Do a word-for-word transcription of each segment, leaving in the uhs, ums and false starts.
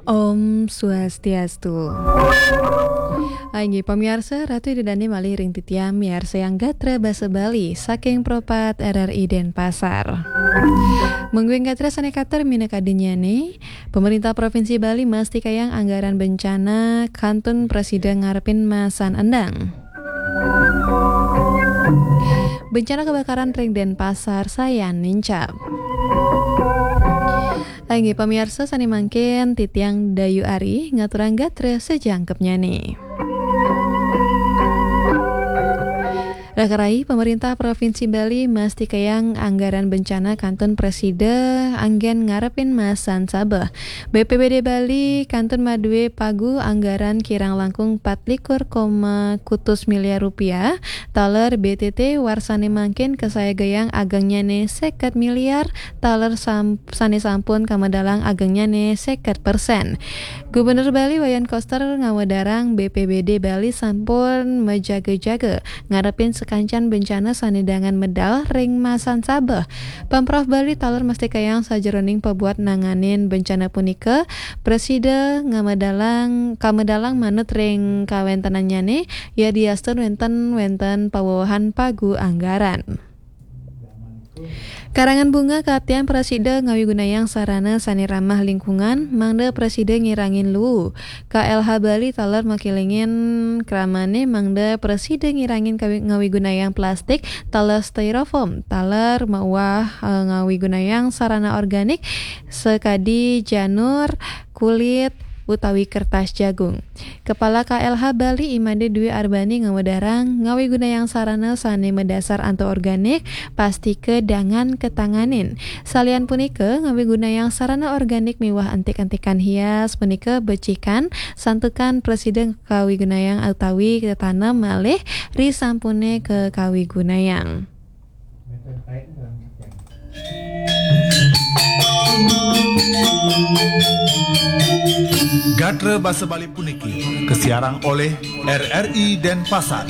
Om Swastiastu. Inggih pamiarsa, Ratu Ida Dane malih ring titiang miarsayang gatra basa Bali saking Pro pat R R I Denpasar. Mungguing gatra sane katur minakadinnyane, Pemerintah Provinsi Bali mastikayang anggaran bencana kantun prasida ngarepin masan endang. Bencana kebakaran ring Denpasar sayan nincap. Inggih pamiarsa, sane mangkin titiang Dayu Ari ngaturang gatra sajangkepnyane. Rakarai, Pemerintah Provinsi Bali mastikayang anggaran bencana kantun prasida anggen ngarepin masan sabeh. B P B D Bali kantun madue pagu anggaran kirang langkung pat likur koma kutus miliar rupiah, taler B T T warsane mangkin kasayagayang agengnyane seket miliar, taler sam-, sane sampun kamedalang agengnyane seket persen. Gubernur Bali Wayan Koster ngawedarang B P B D Bali sampun majaga-jaga ngarepin sakancan bencana sane dangan medal ring masan sabeh. Pemprov Bali taler mastikayang sajeroning pabuat nanganin bencana punika, prasida ngamedalang, kamedalang manut ring kawentenannyane, yadiastun wenten, wenten pawewehan pagu anggaran. Karangan Bunga kaptian prasida ngawigunayang sarana sane ramah lingkungan, mangda prasida ngirangin luu. K L H Bali taler makelingin kramane mangda prasida ngirangin kawi-, ngawigunayang plastik, taler styrofoam, taler mauah, eh, ngawigunayang sarana organik sakadi janur, kulit, utawi kertas jagung. Kepala K L H Bali I Made Dwi Arbani ngawedarang, ngawigunayang sarana sane madasar antuk organik, pastika dangan katanganin. Salian punika, ngawigunayang sarana organik miwah entik-entikan hias punika becikan, santukan prasida kawigunayang utawi katanem malih risampune kakawigunayang. Gatra basa Bali puniki kasiarang olih R R I Denpasar.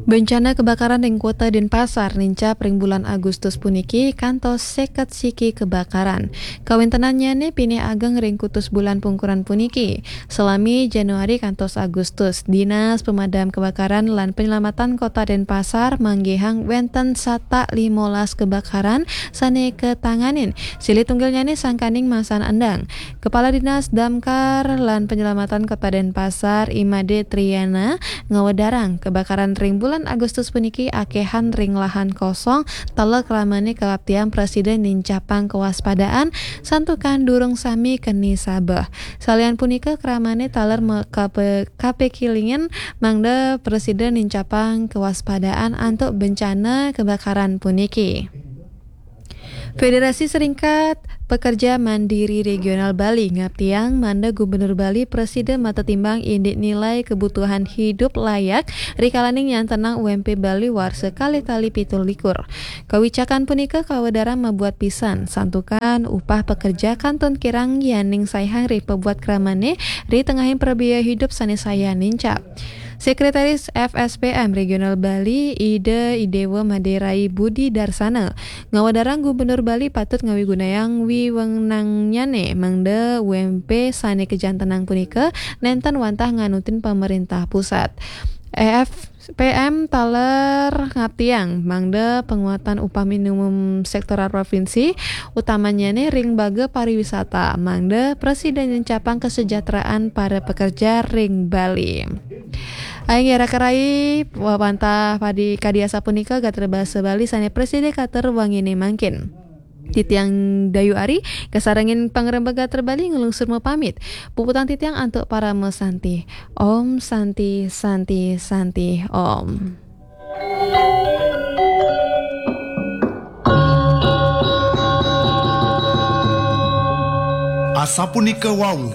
Bencana kebakaran ring Kota Denpasar nincap ring bulan Agustus puniki kantos seket siki kebakaran. Kawentenannyane pinih ageng ring kutus bulan pungkuran puniki, salami Januari kantos Agustus. Dinas Pemadam Kebakaran lan Penyelamatan Kota Denpasar manggihang wenten satak limolas kebakaran sane katanganin. Silih tunggalnyane sangkaning masan endang. Kepala Dinas Damkar lan Penyelamatan Kota Denpasar, I Made Triana, ngawedarang, kebakaran ring bulan Agustus puniki akehan ring lahan kosong, taler kramane kaptian prasida nincapang kewaspadaan, santukan durung sami keni sabeh. Salian punika, kramane taler me-, kape-, kapekelingin mangda prasida nincapang kewaspadaan antuk bencana kebakaran puniki. Federasi Serikat Pekerja Mandiri Regional Bali ngaptiang mangda Gubernur Bali prasida matetimbang indik nilai kebutuhan hidup layak rikalaning nyantenang U M P Bali warsa kalih tali pitu likur. Kawicakan punika kawedarang mabuat pisan, santukan upah pekerja kantun kirang yaning saihang ri pabuat kramane ri tengahing prabiaya hidup sane sayan nincap. Sekretaris F S P M Regional Bali, Ida Idewa Maderai Budi Darsana, ngawedarang Gubernur Bali patut ngawigunayang wiwenangnyane mangda U M P sane kajantenang punika nenten wantah nganutin pamerintah pusat. F P M taler ngaptiang mangda penguatan upah minimum sektoral provinsi, utamannyane ring baga pariwisata, mangda prasida nincapang kesejahteraan para pekerja ring Bali. Inggih raka rai, wantah padi kadi asapunika gatra basa Bali sane prasida katur wangine mangkin. Titiang Dayu Ari, kasarengin pangrembag gatra Bali nglungsur mapamit. Puputang titiang antuk parama santi. Om Santi, Santi, Santi, Om. Asapunika wau